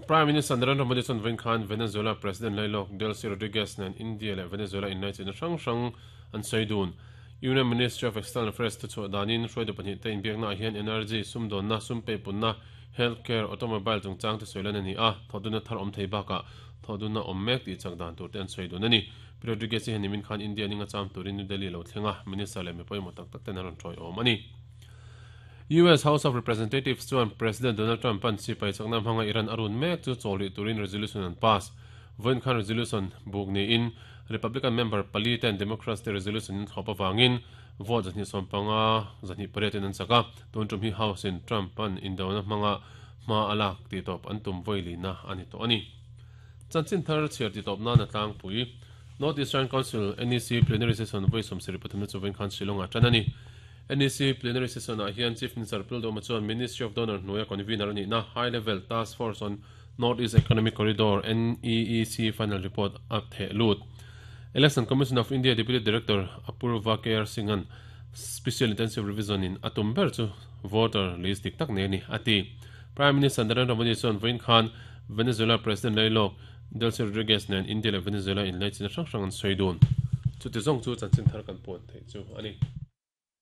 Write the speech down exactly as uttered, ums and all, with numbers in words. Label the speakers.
Speaker 1: Prime Minister Narendra Modi chuan vawiin khan Venezuela President Lailawk Delcy Rodriguez nen India leh Venezuela inlaichinna hrang hrang an sawi dun. Union Ministry of External Affairs thuchhuah danin hruaitu pahnih te inbiaknaah hian energy, sumdawnna, sum peipunna, healthcare, automobile chungchang te sawi lan a ni a, thawhdunna thar awm thei bakah thawhdunna awm mek tih chak dan tur te an sawi dun a ni. Rodriguez hi heni min khan India ninga cham turin New Delhi lo thleng a, Minister leh mi pawimawh tak tak ten an rawn tawi awm a ni. U S House of Representatives chuan President Donald Trump an sipai chakna hmanga Iran arun mek chu chawli turin resolution an pass. Voin khan resolution buk ni in Republican member pali ten Democrats te resolution in thlawp awangin vote zahnih sawm panga zahnih pariat in an chaka. Tun tum hi House in Trump an indona hmanga hma alak ti tawp an tum voili na ani to ani. Chanchin thar chhiar ti tawp na na tlang pui. North Eastern Council N E C plenary session voi som sari pathum na chu voin khan Shillong a tan ani. N E C plenary session ah hian Chief Minister Pu Lalduhoma chuan Ministry of DoNER hnuaia convener ani na High Level Task Force on North East Economic Corridor N E E C final report a the lut. Election Commission of India Deputy Director Apurva K R Singhan Special Intensive Revision in atum ber chu voter list dik tak ne ni ati. Prime Minister Narendra Modi chuan voin khan Venezuela President Lailawk Delcy Rodriguez nen India leh Venezuela inlaichinna hrang hrang an sawi dun. Chuti zawng chu chanchin thar kan puan thei chu ani.